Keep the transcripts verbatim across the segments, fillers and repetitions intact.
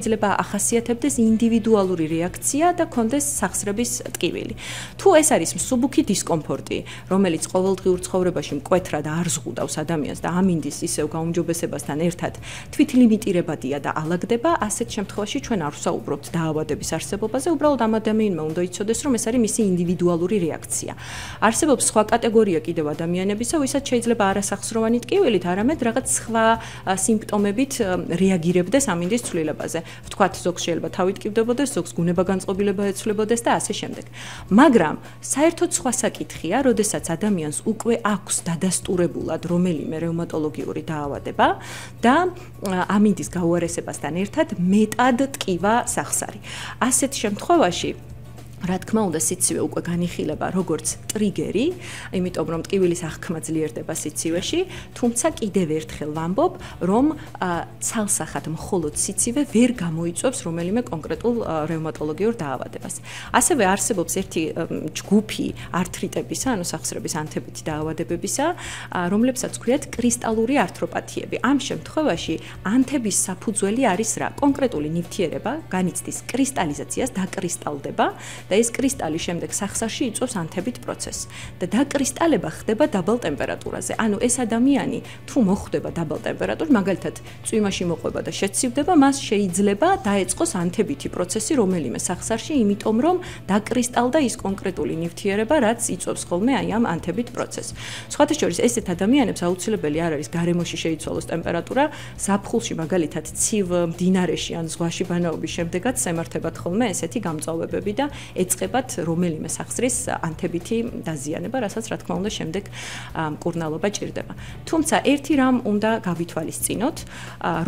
შეიძლება ახასიათებდეს ინდივიდუალური რეაქცია და კონდეს სახსრების ტკივილი. თუ ეს არის მსუბუქი დისკომფორტი, რომელიც ყოველდღიურ ცხოვრებაში მკვეთრად არ ზღუდავს ადამიანს და ამინდის ისევ გაუმჯობესებასთან ერთად თვითლიმიტირებადია და ალაგდება, ასეთ შემთხვევაში ჩვენ არ ვსაუბრობთ დაავადების არსებობაზე, უბრალოდ ამ ადამიანმა უნდა იცოდეს, რომ ეს არის მისი ინდივიდუალური რეაქცია. არსებობს სხვა კატეგორია კიდევ ადამიანებისა, ვისაც შეიძლება არასახსროვანი ტკივილით, არამედ რაღაც სხვა სიმპტომებით რეაგირებდეს ამინდის ცვლილებაზე. ვთქვათ, ზოგს შეიძლება თავი ტკივდებოდეს, ზოგს გუნება განწყობილება ეცვლებოდეს და ასე შემდეგ. მაგრამ საერთოდ სხვა საკითხია, როდესაც ადამიანს უკვე აქვს დადასტურებულად რომელიმე რევმატოლოგიური დაავადება და ამინდის გაუარესებასთან ერთად მეტად ტკივა სახსარი. ასეთ შემთხვევაში რა თქმა უნდა, სიცივე უკვე განიხილება როგორც ტრიგერი, იმიტომ რომ ტკივილის აღქმა ძლიერდება სიცივეში, თუმცა კიდევ ერთხელ ვამბობ, რომ ცალსახად მხოლოდ სიცივე ვერ გამოიწვევს რომელიმე კონკრეტულ რევმატოლოგიურ დაავადებას. ასევე არსებობს ერთი ჯგუფი ართრიტებისა, ანუ სახსრების ანთებითი დაავადებებისა, რომლებსაც ქვიათ კრისტალური ართროპათიები. ამ შემთხვევაში ანთების საფუძველი არის რა? კონკრეტული ნივთიერება განიცდის კრისტალიზაციას, დაკრისტალდება და ეს კრისტალი შემდეგ სახსარში იწვევს ანთებით პროცესს და დაკრისტალება ხდება დაბალ ტემპერატურაზე. ანუ ეს ადამიანი თუ მოხვდება დაბალ ტემპერატურაში, მაგალითად, წვიმაში მოყვება და შეცივდება, მას შეიძლება დაეწყოს ანთებითი პროცესი რომელიმე სახსარში, იმიტომ რომ დაკრისტალდა ის კონკრეტული ნივთიერება, რაც იწვევს ხოლმე აი ამ ანთებით პროცესს. სხვათა შორის, ესეთ ადამიანებს აუცილებელი არ არის გარემოში შეიცვალოს ტემპერატურა, ზაფხულში მაგალითად ცივ მდინარეში ან ზღვაში ბანაობის შემდეგაც ემართებათ ხოლმე ესეთი გამწვავებები და ეწყებათ რომელიმე სახსრის ანთებითი დაზიანება, რასაც რა თქმა უნდა შემდეგ მკურნალობა ჭირდება. თუმცა ერთი რამ უნდა გავითვალისწინოთ,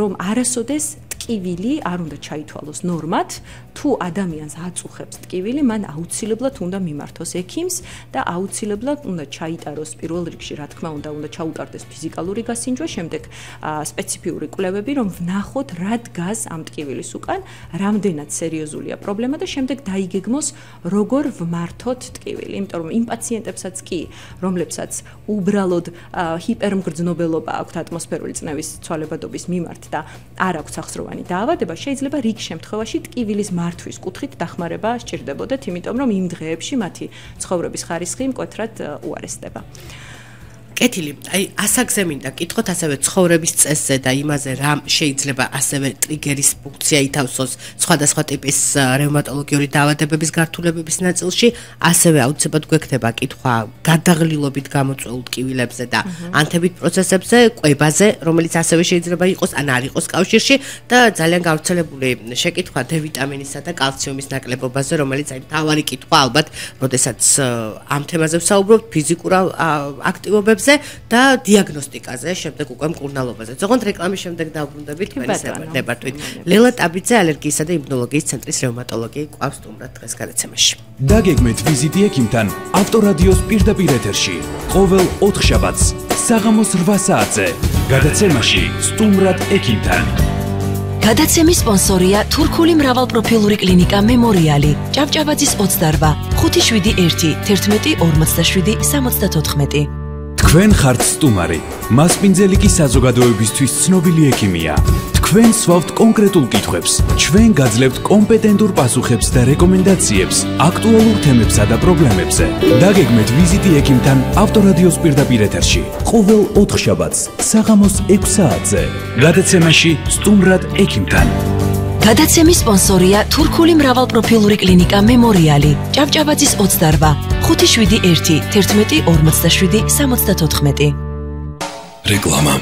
რომ არასოდეს ტკივილი არ უნდა ჩაითვალოს ნორმად, თუ ადამიანს აწუხებს ტკივილი, მან აუცილებლად უნდა მიმართოს ექიმს და აუცილებლად უნდა ჩაიტაროს პირველ რიგში, რა თქმა უნდა, უნდა ჩაუტარდეს ფიზიკალური გასინჯვა, შემდეგ სპეციფიური კვლევები, რომ ვნახოთ რა დგას ამ ტკივილის უკან, რამდენად სერიოზულია პრობლემა და შემდეგ დაიგეგმოს როგორ ვმართოთ ტკივილი, იმიტომ რომ იმ პაციენტებსაც კი, რომლებსაც უბრალოდ ჰიპერმგრძნობელობა აქვთ ატმოსფერული წნევის ცვალებადობის მიმართ და არ აქვთ სახსროვანი დაავადება, შეიძლება რიგ შემთხვევაში ტკივილის მართვის კუთხით დახმარება სჭირდებოდათ, იმიტომ რომ იმ დღეებში მათი ცხოვრების ხარისხი მკვეთრად უარესდება. კეთილი, აი ასაგზე მინდა კითხოთ ასევე ცხოვრების წესზე და იმაზე რა შეიძლება ასევე ტრიგერის ფუნქცია ითავსოს სხვადასხვა ტიპის რევმატოლოგიური დაავადებების გართულებების ნაწილში, ასევე აუცილებლად გვექნება კითხვა გადაღლილობით გამოწვეულ ტკივილებზე და ანთებით პროცესებზე, კვებაზე, რომელიც ასევე შეიძლება იყოს ან არ იყოს კავშირში და ძალიან გავრცელებული შეკითხვა დ ვიტამინისა და კალციუმის ნაკლებობაზე, რომელიც აი მთავარი კითხვა ალბათ, როდესაც ამ თემაზე ვსაუბრობთ, ფიზიკურ აქტივობებზე და დიაგნოსტიკაზე, შემდეგ უკვე მკურნალობაზე. ზოგადად რეკლამის შემდეგ დავბრუნდებით თქვენი დებატვით. ლელა ტაბიძე, ალერგიისა და იმუნოლოგიის ცენტრის რევმატოლოგი ყავს სტუმრად დღეს გადაცემაში. დაგეგმეთ ვიზიტი ექიმთან ავტორადიოს პირდაპირ ეთერში. ყოველ ოთხშაბათს საღამოს რვა საათზე. გადაცემაში სტუმრად ექიმთან. გადაცემის სპონსორია თურქული მრავალპროფილური კლინიკა მემორიალი, ჭავჭავაძის ოცდარვა, ხუთი შვიდი ერთი, თერთმეტი ორმოცდაშვიდი სამოცდათოთხმეტი. თქვენ ხართ სტუმარი, მასპინძელიკი საზოგადოებისთვის ცნობილი ექიმია. თქვენ სვავთ კონკრეტულ კითხვებს, ჩვენ გაძლევთ კომპეტენტურ პასუხებს და რეკომენდაციებს აქტუალურ თემებსა და პრობლემებზე. დაგეგმეთ ვიზიტი ექიმთან ავტორადიოს პირდაპირ ეთერში, ყოველ ოთხშაბათს საღამოს ექვს საათზე. გადაცემაში სტუმრად ექიმთან. გადაცემის სპონსორია თურქული მრავალპროფილური კლინიკა მემორიალი, ჭავჭავაძის ოცდარვა, ხუთი შვიდი ერთი, თერთმეტი ორმოცდაშვიდი სამოცდათოთხმეტი. რეკლამა.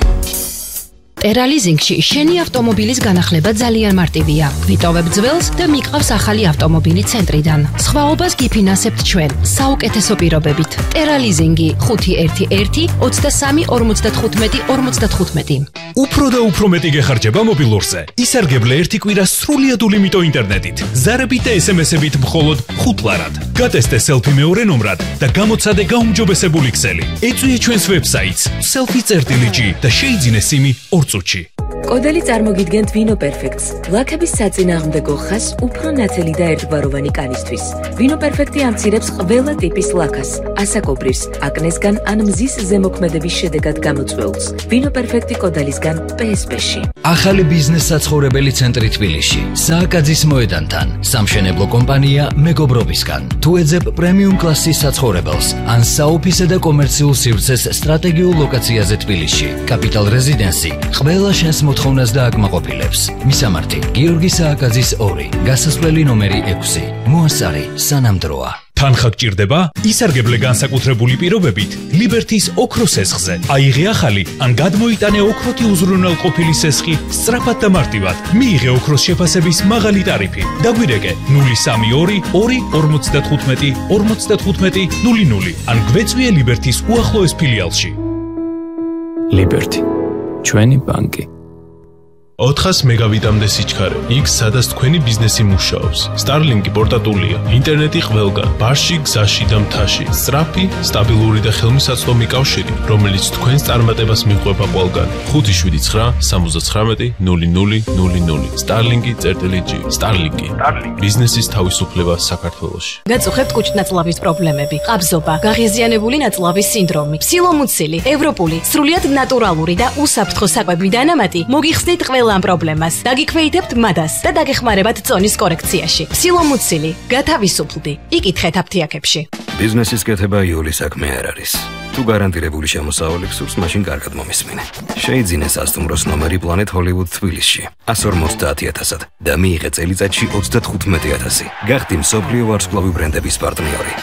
ტერალიზინგში შენი ავტომობილის განახლება ძალიან მარტივია. ვიტოვებ ძველს და მიყავს ახალი ავტომობილი ცენტრიდან. სხვაობას გიფინანსებთ ჩვენ, საუკეთესო პირობებით. ტერალიზინგი ხუთი ერთი ერთი, ოცდასამი ორმოცდათხუთმეტი ორმოცდათხუთმეტი. უფრო და უფრო მეტი გეხარჯება მობილურზე. ისარგებლე ერთი კვირა სრულიად ულიმიტო ინტერნეტით. ზარებით და ესემესებით მხოლოდ ხუთ ლარად. გატესტე სელფი მეორე ნომრად და გამოცადე გაუმჯობესებული ქსელი. ეწვიე ჩვენს ვებსაიტს selfie წერტილი ჯი და შეიძინე სიმი ორ წუთში. კოდელი წარმოგიდგენთ ვინო პერფექტს. ლაქების საწინააღმდეგო ხაზს უფრო ნათელი და ერთგვაროვანი კანისთვის. ვინო პერფექტი ამცირებს ყველა ტიპის ლაქას, ასაკობრირს, აკნესგან ან მზის ზემოქმედების შედეგად გამოწვეულს. ვინო პერფექტი კოდელისგან პე ეს პე-ში. ახალი ბიზნეს საცხოვრებელი ცენტრი თბილისში. სააკაძის მოედანთან. სამშენებლო კომპანია მეგობრობისგან. თუ ეძებ პრემიუმ კლასის საცხოვრებელს ან საოფისე და კომერციულ სივრცეს სტრატეგიულ ლოკაციაზე თბილისში. კაპიტალ რეზიდენსი ყველა შენს მოთხოვნას და აკმაყოფილებს. მისამართი: გიორგი სააკაძის ორი, გასასვლელი ნომერი ექვსი. მოასარი სანამდროა. თანხა გჭირდება? ისარგებლე განსაკუთრებული პირობებით ლიბერთის ოქროს სესხზე. აიღე ახალი ან გადმოიტანე ოქროთი უზრუნველყოფილი სესხი სწრაფად და მარტივად. მიიღე ოქროს შეფასების მაღალი ტარიფი. დაგვირეკე ნული სამი ორი ორი ორმოცდათხუთმეტი ორმოცდათხუთმეტი ნული ნული ან გვეწვიე ლიბერთის უახლოეს ფილიალში. ლიბერთი, ჩვენი ბანკი. ოთხას მეგავიტამდე სიჩქარე. იქ სადაც თქვენი ბიზნესი მუშაობს. Starlink-ი პორტატულია. ინტერნეტი ყველგან, ბარში, გზაში და მთაში. სწრაფი, სტაბილური და ხელმისაწვდომი კავშირი, რომელიც თქვენს წარმატებას მიყვება ყველგან. ხუთი შვიდი ცხრა სამოცდათხრამეტი ნული ნული ნული ნული. Starlink-ი.gr. Starlink-ი. ბიზნესის თავისუფლება საქართველოში. გაწუხებთ კუჭნაწლავის პრობლემები, ყაბზობა, გაღიზიანებული ნაწლავის სინდრომი, ფსილომუცილი, ევროპული, სრულიად ნატურალური და უსაფრთხო საკვები დანამატი მოგიხსნით ყველა ამ პრობლემას. დაგიქვეითებთ მადას და დაგეხმარებათ წონის კორექციაში. ფსილომუცილი, გათავისუფლდი. იკითხეთ აფთიაქებში. ბიზნესის კეთება იული საქმე არ არის. თუ გარანტირებული შემოსავალი გსურს, მაშინ კარგად მომისმინე. შეიძინე სასტუმროს ნომერი Planet Hollywood თბილისში εκατს ორმოცდაათი ათასად და მიიღე წელიწადში ოცდათხუთმეტი ათასი. გახდი მსოფლიო ვარსკვლავი ბრენდების პარტნიორი.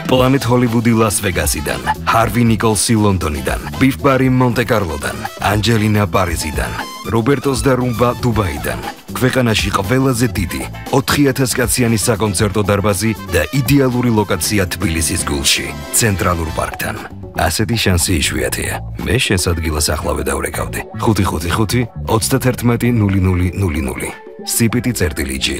Planet Hollywood Las Vegasიდან, Harvey Nicholsi ლონდონიდან, Beef Bar მონტე-კარლოდან, Angelina Parisიდან, Robertos და Rumba დუბაიდან. ქვეყანაში ყველაზე დიდი ოთხი ათას კაციანი საკონცერტო დარბაზი და იდეალური ლოკაცია თბილისის გულში, ცენტრალურ პარკთან. ასეთი შანსი იშვიათია. მე შენს ადგილას ახლავე დავრეკავდი. ხუთი ხუთი ხუთი ოცდაათერთმეტი ნული ნული ნული ნული. სი პი ტი წერტილი ჯი